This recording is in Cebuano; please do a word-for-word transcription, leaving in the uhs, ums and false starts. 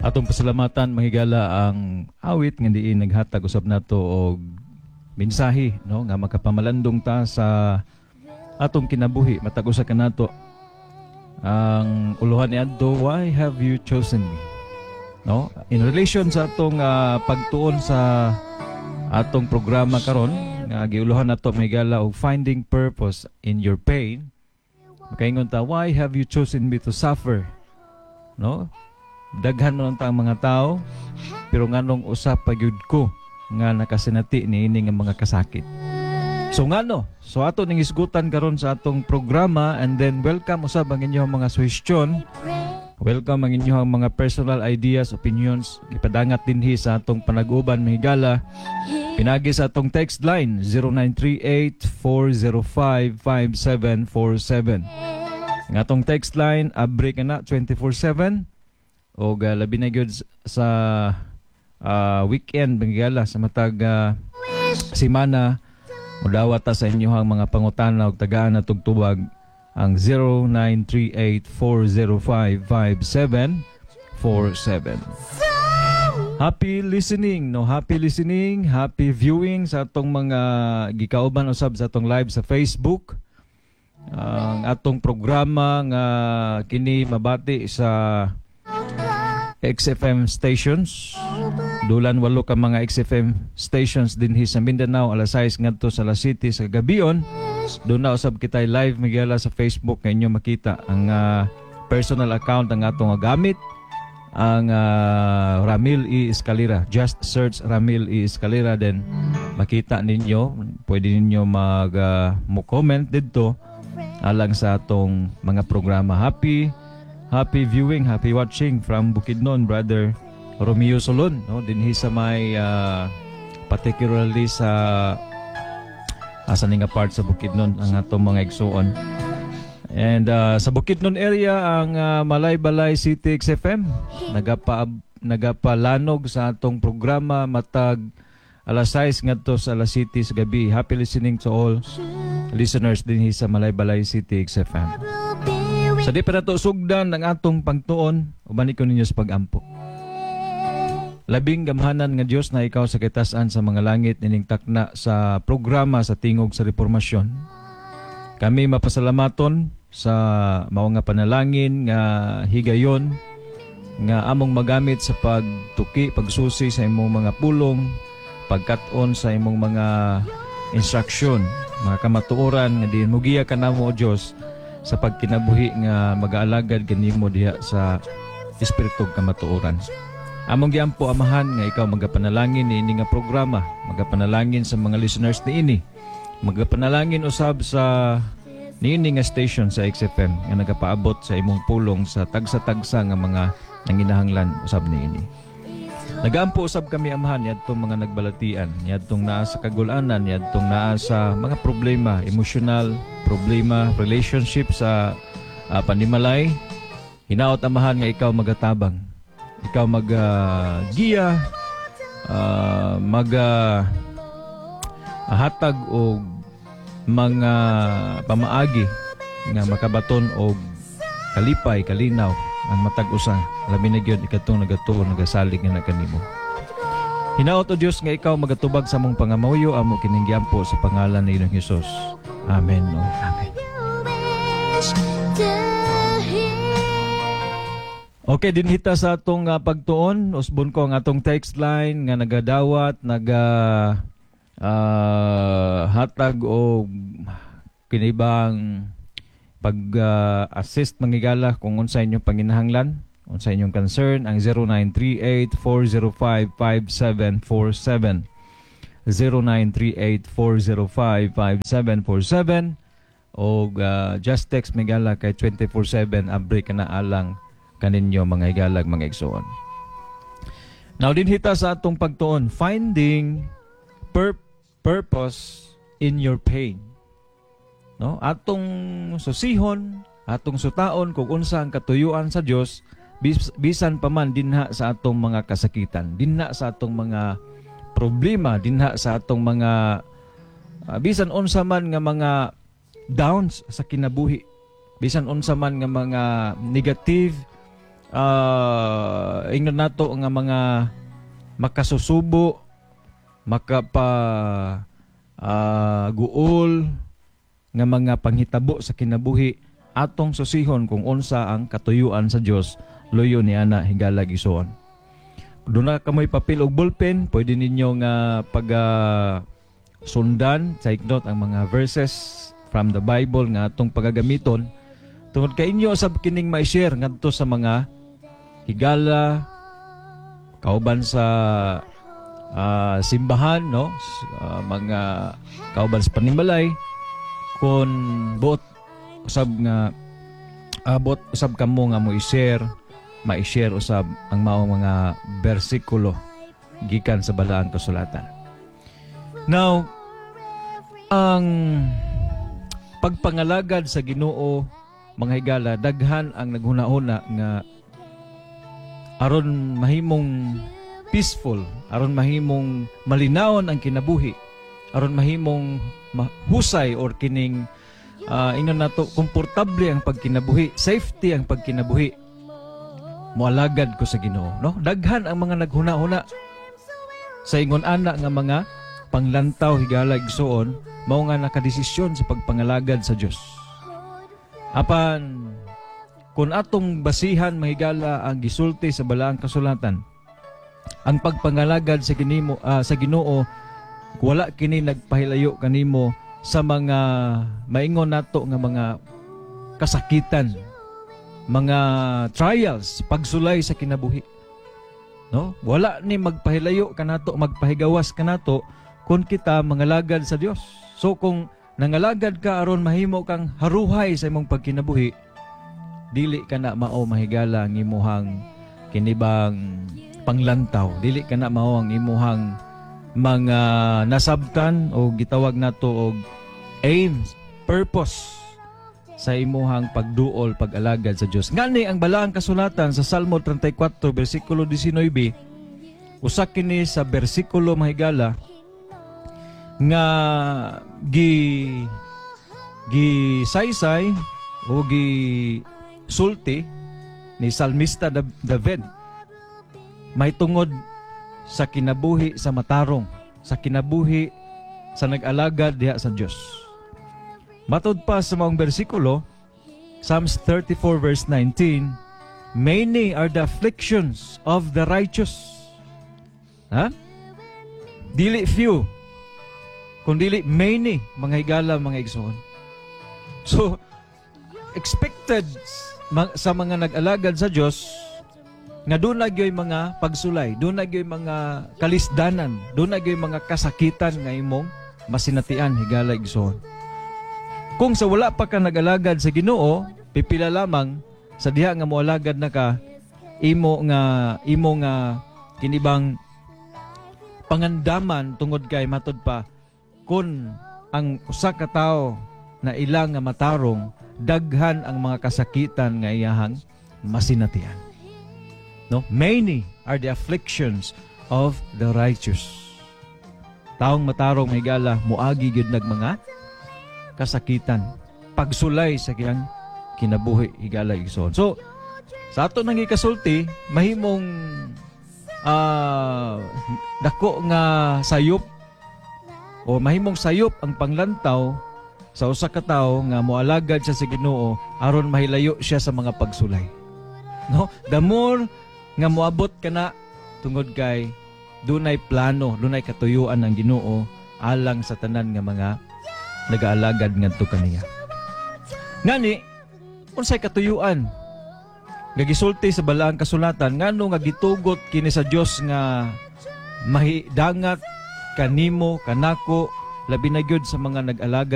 Atong pasalamatan, mga higala, ang awit nga diin naghatag usab nato og mensahe, no, nga makapamalandong ta sa atong kinabuhi matag usa kanato. Ang uluhan ni adto, "Why Have You Chosen Me?" No, in relation sa atong ah, pagtuon sa atong programa karon nga giuluhan nato, mga higala, og "Finding Purpose in Your Pain." Makaingon ta, "Why have you chosen me to suffer?" No, daghan man ta ang mga tao, pero nganong usa pa gyud ko nga nakasinati niini nga mga kasakit? So ngano? So ato ning isgutan karon sa atong programa, and then welcome usab ang inyong mga suhestyon. Welcome ang inyong mga personal ideas, opinions. Ipadangat dinhi sa atong panag-uban, mga higala, pinagi sa atong text line zero nine three eight, four zero five, five seven four seven. Ang atong text line abri ka na twenty-four seven o uh, labi na gyud sa uh, weekend, mga higala, sa matag uh, simana mudawat ta sa inyohang mga pangutana ug tagaan na tugtubag ang zero nine three eight, four zero five, five seven four seven. Happy listening, no? Happy listening, happy viewing sa atong mga gikauban usab sa atong live sa Facebook. Ang atong programa nga kini mabati sa X F M stations. Dulan walo ka mga X F M stations dinhi sa Mindanao, alas sais ngadto sa alas siyete sa gabion. Doon na usab kita live, mga higala, sa Facebook nga inyo makita ang ah, personal account ang atong gamit, ang ah, Ramil E. Escalera. Just search Ramil E. Escalera, then makita ninyo. Pwede ninyo mag ah, mo comment didto alang sa atong mga programa. Happy happy viewing, happy watching from Bukidnon, Brother Romeo Solon, no, dinhi sa may ah, particularly sa asa ni nga part sa Bukidnon ang atong mga igsuon. And ah, sa Bukidnon area, ang ah, Malaybalay City X F M nagapa nagapalanog sa atong programa matag alas sais ngadto sa alas siyete sa gabi. Happy listening to all listeners dinhi sa Malaybalay City X F M. Sa di pa nato sugdan ang atong pagtuon, uban ko ninyo sa pagampo. Labing gamhanan nga Dios na ikaw sa kitasan sa mga langit, nining takna sa programa sa Tingog sa Reformasyon. Kami mapasalamaton sa mao nga panalangin nga higayon nga among magamit sa pagtuki, pagsusi sa imong mga pulong, pagkat-on sa imong mga instruksyon, mga kamatuoran nga diin mugiya kanamo, o Dios, sa pagkinabuhi nga mag-aalagad kanimo diha sa espiritu kamatuoran. Among giampo, Amahan, nga ikaw magapanalangin niini nga programa, magapanalangin sa mga listeners niini, magapanalangin usab sa niini nga station sa X F M nga nagapaabot sa imong pulong sa tagsa-tagsa nga mga nanginahanglan usab niini. Nagaampo usab kami, Amahan, niadtong mga nagbalatian, niadtong naa sa kagulanan, niadtong naa sa mga problema, emosyonal, problema, relationship sa ah, panimalay. Hinaot, Amahan, nga ikaw magatabang. Ikaw mag-giya, uh, mag ah, hatag og mga pamaagi nga makabaton og kalipay, kalinaw ang matag usa. Labi na gyud ikatong nagatuo, nagasalig nga na kanimo. Hinaot, O Dios, nga ikaw magatubag sa among pangamuyo. Amo kining giampo sa pangalan ni Ginoong Hesus. Amen. O amen. Wish to hear. Okay, dinhi ta sa atong ah, pagtuon, usbon ko ang atong text line nga nagadawat, naga ah, hatag og kinibang pag ah, assist, mga higala, kung unsa inyong panginahanglan, unsa inyong concern, ang zero nine three eight, four zero five, five seven four seven, zero nine three eight, four zero five, five seven four seven, o ah, just text, mga higala, kay twenty-four seven abri ka na alang kaninyo, mga higalag, mga igsoon. Now dinhi ta sa atong pagtuon, "Finding pur- purpose in Your Pain." No? Atong susihon, atong sutaon kung unsa ang katuyuan sa Dios bis, bisan pa man dinha sa atong mga kasakitan, dinha sa atong mga problema, dinha sa atong mga ah, bisan unsa man nga mga downs sa kinabuhi, bisan unsa man nga mga negative uh, ingnon nato nga mga makasusubo, makapa uh, guol nga mga panghitabo sa kinabuhi, atong susihon kung unsa ang katuyuan sa Dios luyo ni ana, higala, igsoon. Duna kamoy papel ug ballpen, pwede ninyo nga pag uh, sundan, take note ang mga verses from the Bible nga atong pagagamiton tungod kay inyo sab kining ma-share ngadto sa mga higala, kauban sa uh, simbahan, no, uh, mga kauban sa panimalay, kung buot usab nga abot uh, usab kamo nga mo i-share, ma-share usab ang maong mga bersikulo gikan sa Balaang Kasulatan. Now, ang pagpangalagad sa Ginoo, mga higala, daghan ang naghuna-huna nga aron mahimong peaceful, aron mahimong malinawon ang kinabuhi, aron mahimong mahusay or kining uh, ingnon nato komportable ang pagkinabuhi, safety ang pagkinabuhi, moalagad ko sa Ginoo, no? Daghan ang mga naghuna-huna sa ingon ana nga mga panglantaw, higala, igsoon, mao nga nakadesisyon sa pagpangalagad sa Dios. Apan kung atong basihan, mahigala, ang gisulti sa Balaang Kasulatan, ang pagpangalagad sa ginimo uh, sa Ginoo, wala kini nagpahilayo kanimo sa mga maingon nato nga mga kasakitan, mga trials, pagsulay sa kinabuhi. No? Wala ni magpahilayo kanato, magpahigawas kanato kung kita mangalagad sa Dios. So kung nangalagad ka aron mahimo kang haruhay sa imong pagkinabuhi, dili ka na mao, mahigala, ang imuhang kinibang panglantaw. Dili ka na mao ang imuhang mga nasabtan o gitawag nato og aims, purpose sa imuhang pagduol, pag-alagad sa Dios. Ngani ang Balaang Kasulatan sa Salmo trenta y kuwatro bersikulo disnuybe, usa kini sa bersikulo, mahigala, nga gi gi saysay o gi sulti ni Salmista David mahitungod sa kinabuhi sa matarong, sa kinabuhi sa nag-alagad diha sa Dios. Matod pa sa maong bersikulo, Psalms thirty-four verse nineteen, "Many are the afflictions of the righteous." Ha? Dili few, kundili many, mga higala, mga igsoon. So, expected sa mga nag-alagad sa Dios nga duna gyoy mga pagsulay, duna gyoy mga kalisdanan, duna gyoy mga kasakitan nga imong masinatian, higala, igsoon. Kung sa wala pa ka nag-alagad sa Ginoo, pipila lamang sa diha nga moalagad na ka, imo nga imo nga kinibang pangandaman tungod kay matod pa kung ang usa ka tawo na ilang nga matarong, daghan ang mga kasakitan nga iyahang masinatian. No? Many are the afflictions of the righteous. Taong matarong, higala, muagi gyud nag mga kasakitan, pagsulay sa kiyang kinabuhi, higala, igsoon. So, sa ato nang ikasulti, mahimong ah, dako nga sayop o mahimong sayop ang panglantaw sa usa ka tawo nga moalagad siya sa Ginoo aron mahilayo siya sa mga pagsulay. No? The more nga moabot kana tungod kay dunay plano, dunay katuyuan ng Ginoo alang sa tanan nga mga nagaalagad ngadto kaniya. Ngani, unsay katuyuan nga gisulti sa Balaang Kasulatan, ngano nga gitugot kini sa Dios nga mahidangat kanimo, kanako, labi na gyud sa mga nag-alagad?